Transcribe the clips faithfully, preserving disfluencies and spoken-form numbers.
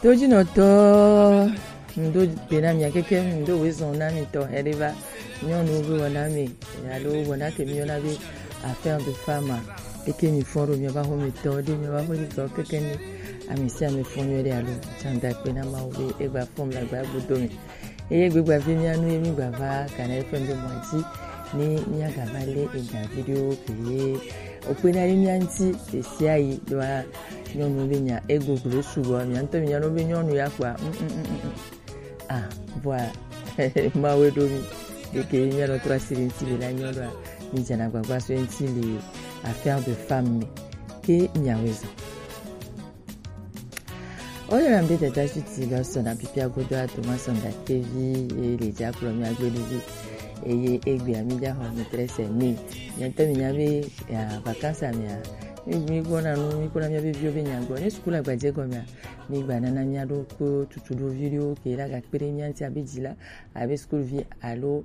Tojinɔtɔ, ŋdo gbe na mia keke, ŋdo wezɔn na mi tɔ hɛɖe va nyɔnu be wɔna mi alo wɔna ke mi yɔna be affaire de femme. Eke mi fɔn ɖo miaba xɔ mi tɔ ɖe miaba xɔ mi tɔ keke ni ami si ame fɔn nyɔ ɖe alo tsanda kpe na Mawu be egba fɔn mi agba gbodo mi. Eye gbegba vi mia nu ye mi gba va kana eƒe ŋdo mɔ dzi ni mia ga va le ega video ke ye okpe na ɖe mia ŋti esi ayi ɖoa nyɔnu be nya egboglo sugbɔ mia ŋutɔ mi nya no be nyɔnu ya kpɔa. Mm, mm, mm, mm, mm. Ah, vɔa Mawu ɖo mi ɖeke mia nɔ trɔ asi ɖe ŋti le la nyɔ ɖoa mi dzana gbagba so ŋti le affaire de femme me ke miawe zɔ. Oyɔna mi be dada Juti lɔ sɔna pipia godo ato ma sɔna tevi ye le dza kplɔ mi agbeɖuvi. Eye egbea mi dza xɔ mi trese mi. Mia ŋutɔ mi nya be ya vacances mea mi mi gbɔna nu mi gbɔna mia be viwo be nya gbɔ ne sukulu agbadze gɔmea mi gba nana mia ɖo ko tutu ɖo vi ɖewo ke la ga kpe ɖe mia ŋti abe dzila abe sukulu vi alo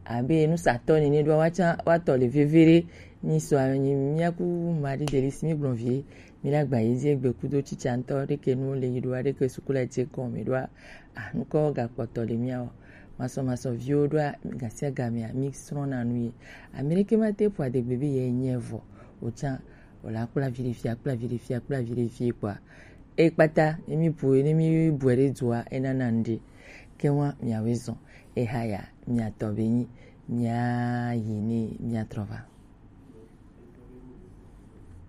abe nusatɔ nene ɖoa woatsã woatɔ le veve ɖe. Mi sɔ anyi mia ku Marie Delice mi gblɔ vie mi la gba yi dzi egbe kudo tsitsa ŋutɔ ɖeke nu le yi ɖoa ɖeke sukula dze kɔ mi ɖoa ah nukɔ gakpɔtɔ le mia o. Masɔ masɔ viwo ɖoa gasia gamea mi srɔ̃na nu ye. Ame ɖeke ma te ƒo adegbe be ye nye vɔ o tsã o la kpla vi ɖe fia kpla vi ɖe fia kpla vi ɖe fie kpɔa ekpata ne mi bu ne mi bu ɖe dua enana ŋɖe. Ke wa miawe zɔn. Ehaya miatɔ be nyi mia yi ni mia trɔ va.